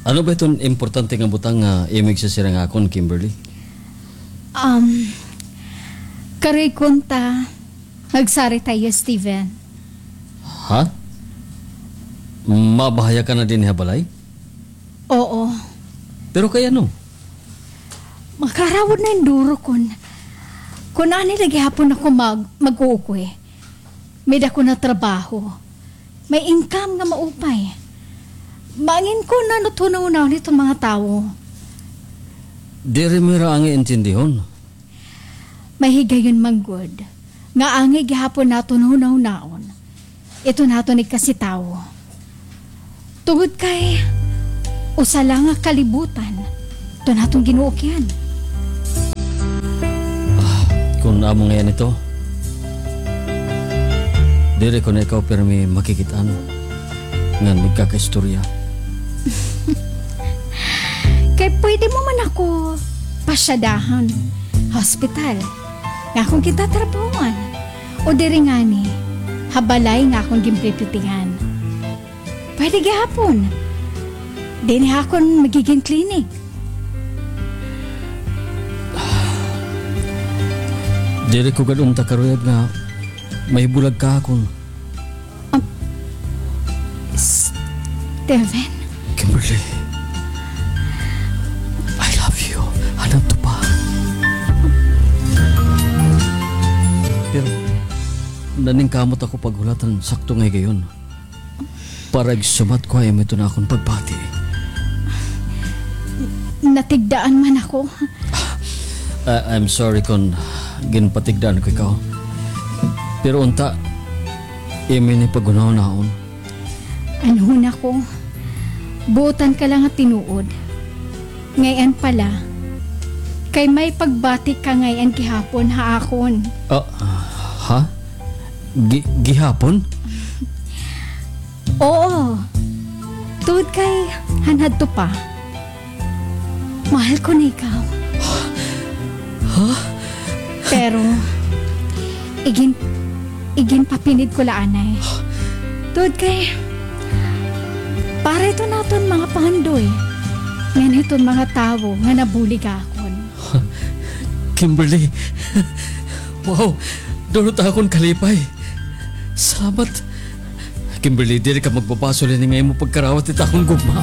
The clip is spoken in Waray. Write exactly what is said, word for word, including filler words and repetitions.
Ano ba iton importante nga butang nga imo igsasirang akon, Kimberly? Um, karoy kunta, magsarita hiyo, Steven. Ha? Mabahaya ka na dinhi ha balay? Oo. Pero kay ano? Makarawod na hin duro kon, kon ani la gihapon ako mag-, mag-uukwi. May dako na trabaho. May income nga maupay. Mangin ko na no hunahunahon iton mga tawo. Diri mo hira angay intindihon. May higayon man gud nga angay gihapon naton hunahunaon iton aton ikasitawo. Tungod kay usa la nga kalibutan iton aton ginuukyan. Ah, kon amo ngay-an ito, diri ko na ikaw pirmi makikit-an ngan magkakaistorya. Kay pwede mo man ako pasyadahan ha ospital nga akon kitatrabahoan. O diri ngani, ha balay nga akon ginpipitihan. Pwede gihapon. Dinhi ha akon magigin clinic. Diri ko gad unta karuyag nga mahibulag ka ha akon. Um, Steven? Kimberly, I love you. Hanadto pa. Pero naningkamot ako paghulat han sakto nga higayon para igsumat ko ha imo iton akon pagbati. Natigdaan man ako. Ah, I'm sorry kon ginpatigdaan ko ikaw. Pero unta, imo ini paghunahunaon. An hunahuna ko, buotan ka la nga tinuod. Ngay-an pa la, kay may pagbati ka ngay-an gihapon ha akon. Ah, ha? Gi-, gihapon? Oo. Tungod kay hanadto pa. Mahal ko na ikaw. Ha? Pero, igin-, iginpapinid ko la anay. Tungod kay, para iton aton mga pangandoy, ngan hiton mga tawo nga nabulig ha akon. Kimberly. Wow, duro it akon kalipay. Salamat. Kimberly, diri ka magbabasol hini nga imo pagkarawat it akon gugma.